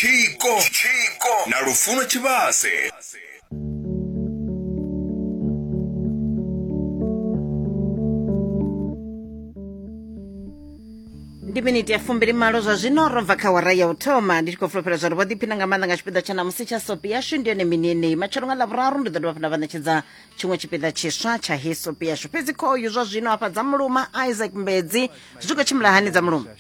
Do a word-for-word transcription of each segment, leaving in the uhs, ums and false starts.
Tshiko Tshiko na Lufuno Tshivhase. Ndi miniti ya fumbili malo zwa zwino ro bva kha wara ya u thoma. Ndi tshi khou fulufhela zwa uri vho ḓiphina nga maanḓa nga tshipiḓa tsha ṋamusi tsha sopi yashu. Ndi yone mini yeneyi matshelo nga ḽavhuraru ndi ḓo dovha hafhu nda vha ṋetshedza tshiṅwe tshipiḓa tshiswa tsha he sopi yashu. Fhedzi khoyu zwa zwino hafha dza muluma Isaac Mbedzi zwi khou tshimbila hani dza muluma?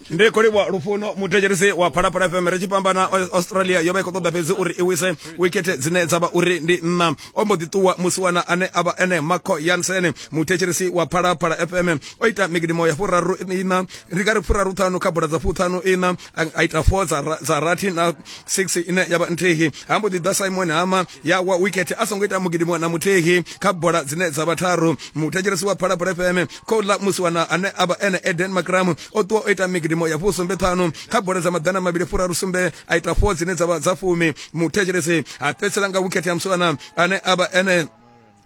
Ndi khou livhuwa Lufuno muthetshelesi wa Phalaphala F M. Ri tshi fhambana, Australia yo vha i khou ṱoḓa fhedzi uri i wise wikete dzine dza vha uri ndi nṋa. O mbo ḓi ṱuwa musiwana ane a vha ene Marco Jansen muthetshelesi wa Phalaphala F M. O ita migidimo ya furaru ina, ndi nga ri furaru ṱhanu kha bola dza fuṱhanu ina, a ita four dza dza rathi na six ine ya vha nthihi. Ha mbo ḓi ḓa Simon Hama ya wa wikete a songo ita mugidimo na muthihi kha bola dzine dza vha tharu. Muthetshelesi wa Phalaphala F M khouḽa musiwana ane a vha ene Eden Makram o ṱuwa o ita migidimo ya fusumbe ṱhanu kha bola dza maḓana mavhili furaru sumbe, a ita four dzine dza vha dza fumi. Muthetshelesi a fhedzisela nga wikete ya musiwana ane a vha ene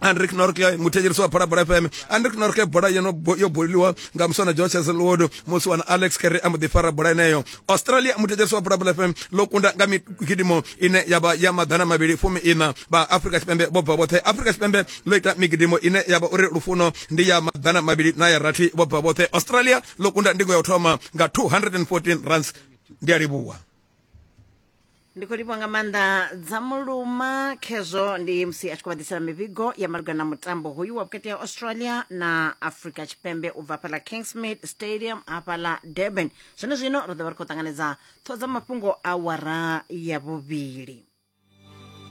Andrik Norke muthetshelesi wa Phalaphala F M. Andrik Norke bola yo yo boliwa nga muswana Josh Hazelwood, musiwana Alex Kerry a mbo ḓi fara bola eneyo. Australia muthetshelesi wa Phalaphala F M ḽo kunda nga migidimo ine ya vha ya maḓana mavhili fumi ina. Vha Afrika Tshipembe vho bva vhoṱhe. Afrika Tshipembe ḽo ita migidimo ine ya vha uri Lufuno ndi ya maḓana mavhili na ya rathi vho bva vhoṱhe. Australia ḽo kunda ndingo ya u thoma nga two hundred and fourteen runs. Ndi a livhuwa. Ndi khou livhuwa nga maanḓa dza muluma. Khezwo ndi musi a tshi khou vha ḓisela mivhigo ya malugana na mutambo hoyu wa vhukati ha Australia na Afrika Tshipembe u bva hafhaḽa Kingsmead Stadium hafhaḽa Durban. Zwone zwino ri ḓo vha ri khou ṱanganedza ṱhoho dza mafhungo awara ya vhuvhili.